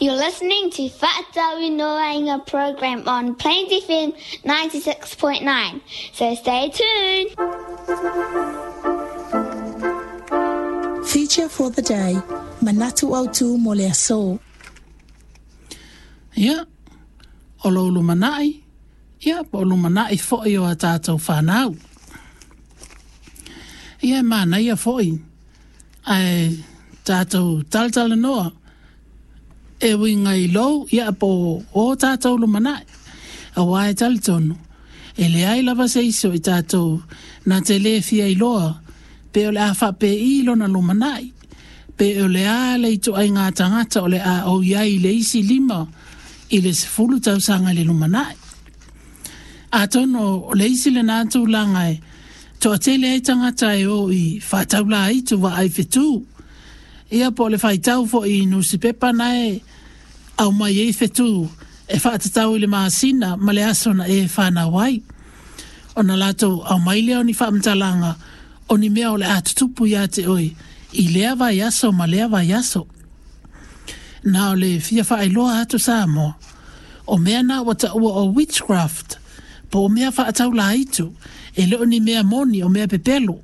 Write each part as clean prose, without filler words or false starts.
You're listening to Fa'atauinoaina program on Plains FM 96.9. So stay tuned. Feature for the day, Manatu Autu mo le aso. Ia, o lou lumanai, ia, po o lumanai foi o a tātou whanau. Ia, e manaia foi, ae tātou talatalanoa, e uiga i lou, ia, po o tātou lumanai. Auā e talitonu, e leai lava se isi o i tātou na te lē fia iloa pe o le a faapēi lona lumanai, pe o le a le ituaiga tagata o le a ou i ai i le isi 5 i le 10 tausaga i le lumanai. Atonu o le isi lenā tulaga e toatele ai tagata e o i faataulāitu vaai fetū, ia po o le faitau foi i nusipepa na e aumai ai fetū e faatatau i le masina ma le aso na e fanau ai. Ona latou aumai lea o ni faamatalaga o ni mea o le a tutupu ia te oe i lea vaiaso ma lea vaiaso. Na o le fia faailoa atu Samoa, o mea na ua taua o witchcraft, po o mea faataulāitu, e le o ni mea moni o mea pepelo,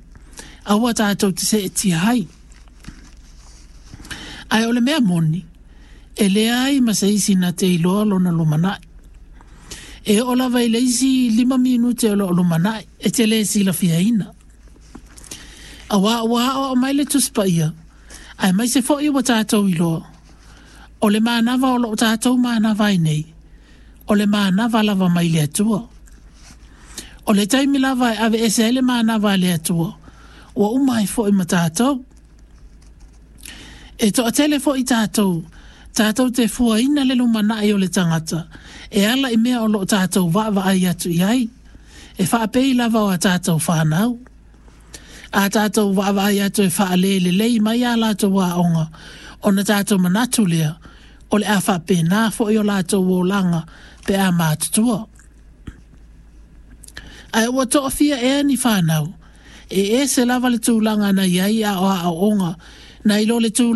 aua tātou te seetia ai. Ae o le mea moni, e leai ma se isi na te iloa lona lumanai. E oo lava i le isi 5 minute o loo lumanai, e te le silafiaina. Auā ua aoao mai le Tusi Paia, aemaise foi ua tātou iloa, o le manava o loo tātou manava ai nei, o le manava lava mai le Atua. O le taimi lava e aveese ai le manava a le Atua, ua uma ai foi ma tātou. E toatele foi tātou, tātou te fuaina le lumanai o le tagata, e ala i mea o loo tātou vaavaai atu i ai, e faapei lava o a tātou whanau. A tātou vaavaai atu e faalelelei mai a latou aoga, ona tātou manatu lea, o le a faapena foi o latou olaga pe a matutua. Ae ua toafia ea ni whanau, e ese lava le tulaga na i ai a o aoaoga, nai lo le tulaga